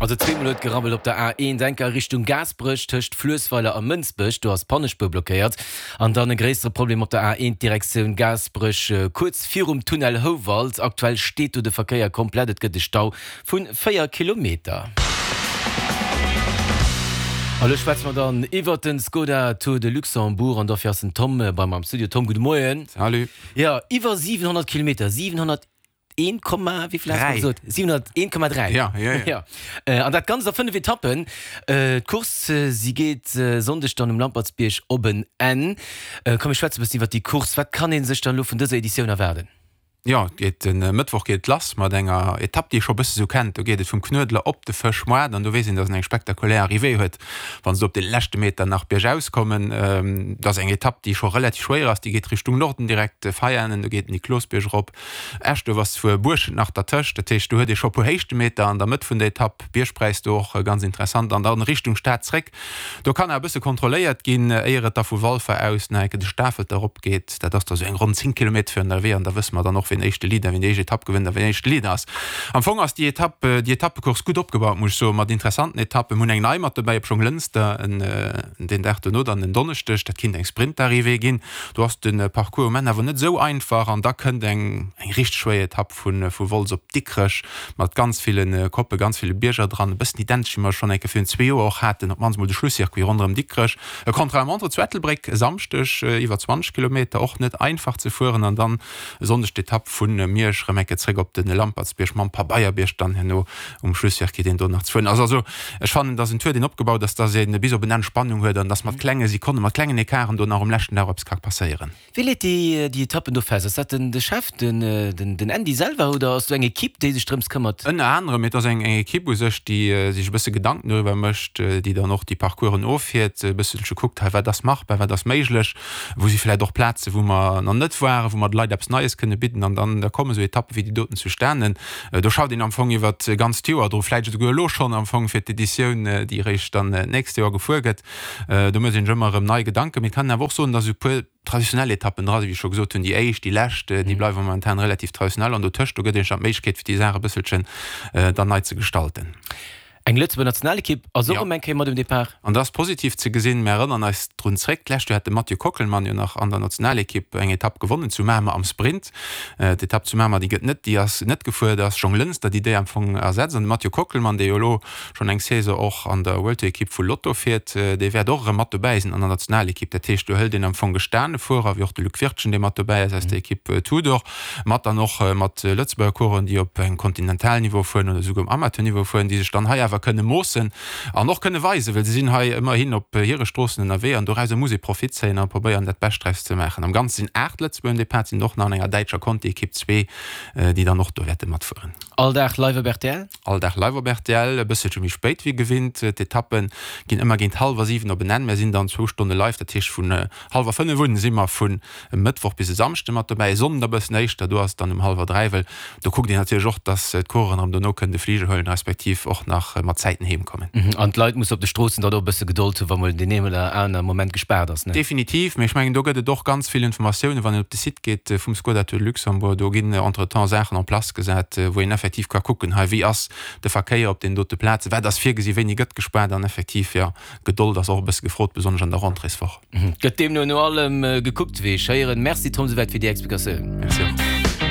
Also zweemol huet gerabbelt op der A1 enker a Richtung Gaasperech tëscht Fluessweiler a Mënsbech, do ass d'Pannespuer blockéiert. An dann e gréissere Problem op der A1 Direktioun Gaasperech kuerz virum Tunnel Houwald. Aktuell steet do de Verkéier komplett, et gëtt e Stau vu 4 Kilometer. A lo schwätze mer dann iwwert den Skoda Tour de Luxembourg an dofir ass den Tom bei mer am Studio. Tom, gudde Moien. Salut. Jo, iwwer 700 Kilometer, 701 Komma, wéi vill has de gesot? 701,3. Ja, ja, ja. Ja. An dat Ganzt a 5 Etappen. D'Course, si geet Sonndeg dann um Lampertsbierg op en Enn. Komm, mir schwätze e bëssen iwwert déi Course. Wat kann ee sech dann elo vun dëser Editioun erwaarden? Jo, et geet de Mëttwoch geet et lass mat enger Etapp, déi ee scho e bësse sou kennt. Do geet et vum Knuedler op de Fëschmoart an do weess een, datt en eng spektakulär Arrivée huet, wann se do op de leschte Meter nach biergaus kommen. Dat ass eng Etapp, déi scho relativ schwéier ass. Déi geet Richtung Norden direkt, Veianen, do geet den Niklosbierg erop. Eschduerf ass zwuer Buerschent nach dertëscht, dat heescht do huet ee scho e puer Héichtemeter an der Mëtt vun der Etapp. Biergpräis do och ganz interessant an dann Richtung Stad zréck. Do kann awer e bësse kontrolléiert ginn, éier et da vu Walfer aus nach eng Kéier de Stafelter erop geet. Dat ass da sou eng ronn 10 Kilometer virun der Arrivée an da wësse mer dann och, wien éischte Leader, wien déi éischt Etapp gewënnt a wien éischte Leader ass. Am Fong ass déi Etapp, déi Etappecourse gutt opgebaut, muss ech soen, mat interessanten Etappen. Mir hunn eng nei mat dobäi op Jonglënster, en den Dag dono dann en Donneschdeg. Dat kinnt eng Sprintarrivée ginn. Do ass de Parcours um Enn awer net esou einfach an da kënnt eng eng richteg schwéier Etapp vu vu Wolz op Dikrech mat ganz ville Koppe, ganz ville Bierger dran, e bëssen identesch wéi mer schonn eng Kéier virun zwee Joer och haten, op d'mannst mol de Schlusscircuit ronderëm Dikrech. E Contre-la-montre zu Ettelbréck e Samschdeg, iwwer 20 Kilometer, och net einfach ze fueren an dann e Sonndeg d'Etapp vu Miersch erëm eng Kéier zréck op de Lampertsbierg mam Pabeierbierg dann herno um Schlusscircuit, deen do nach ze fueren ass. Also ech fannen, dass en Tour, deen opgebaut ass, dass ee bis op en Enn Spannung huet an dass mat klenge Sekonnen, mat klengen Ecarten do nach um leschten Dag eppes ka passéieren. Wie leet déi déi Etappen do fest? Ass dat den de Chef, den den den Andy selwer oder ass do eng Equipe, déi sech drëms këmmert? Ënner anerem, mee et ass eng eng Equipe u sech, déi sech e bësse Gedanken doriwwer mécht, déi dann och déi Parcoursen offiert, e bësselche kuckt, hei wat ass machbar, wat ass méiglech, wou si vläicht och Plaze wou mer nach net waren, wou mer de Leit eppes Neies kënne bidden an dann da komme sou Etappe wéi déi doten zustanen. Do schafft een am Fong iwwer d'ganzt Joer dru, vläicht esouguer elo schonn am Fong fir d'Editioun, déi eréischt dann d'nächst Joer gefuer gëtt. Do mécht een sech ëmmer erëm nei Gedanken. Mee et kann een awer och soen, datt esou e puer traditionell Etappen dra sinn, wéi ech scho gesot hunn, déi éischt, déi lescht, déi bleiwe momentan relativ traditionell an dotëscht, do gëtt een sech dann d'Méiglechkeet, fir déi Saach e bësselchen dann nei ze gestalten. Eng Lëtzebuerger Nationalekipp ass och erëm eng Kéier mat um Depart. An dat ass positiv ze gesinn. Mir erënnern eis drun zréck, d'lescht Joer hat de Mathieu Kockelmann jo nach an der Nationalekipp eng Etapp gewonnen zu Mamer am Sprint. D'Etapp zu Mamer, déi gëtt net, déi ass net gefuer. Et ass Jonglënster, déi déi am Fong ersetzt. An de Mathieu Kockelmann, dee jo elo schonn eng Saison och an der World Tour Ekipp vu Lotto fiert, dee wäert och erëm mat dobäi sinn an der Nationalekipp. Dat heescht, do hëlt een am Fong gestane Fuerer, wéi och de Luc Wirtgen, dee mat dobäi ass aus der Ekipp Tudor. mat dann och mat Lëtzebuerger Coureuren, déi op engem Kontinentalniveau fueren oder esouguer um Amateurniveau fueren, déi sech dann hei awer kënne moossen an och kënne weisen, well se sinn hei ëmmerhin op hire Stroossen ënnerwee an dorauser muss ee Profit zéien a probéieren, dat Bescht draus ze maachen. Am Ganze sinn 8 Lëtzebuerger um Depart, sinn och nach an enger däitscher Conti-Ekipp zwee, déi dann och do wäerte matfueren. All Dag live op rtl? All Dag live op rtl, e bësselche méi spéit wéi gewinnt. D'Etappe ginn ëmmer géint hallwer 7 op en Enn. Mär sinn dann zwou Stonne live, dat heescht vun hallwer 5 un si mer vun E Mëttwoch bis e Samschde mat dobäi, e Sonnden e bëssen éischter, do ass et dann um hallwer 3, well do kuckt een natierlech och, dass d'Coureuren erëm dono kënnen de Fliger huelen, respektiv och nach mat Zäiten heem kommen. An d'Leit musse op de Stroossen dann och e bësse Gedold hunn, wa mol deen een oder aner Moment gespaart ass, ne? Definitiv, mee ech mengen, do gëtt et och ganz vill Informatiounen, wann een op de Site geet vum Skoda Tour de Luxembourg, do ginn entretemps Saachen en place gesat, wou een effektiv ka kucken, hei wéi ass de Verkéier op deenen dote Plazen, wat ass virgesi, wéini gëtt gespaart an effektiv, jo, Gedold ass och e bësse gefrot, besonnesch an der Rentréeswoch. Gëtt deemno no allem gekuckt, wéi ech héieren. Merci Tom souwäit fir déi Explikatioun. Merci och.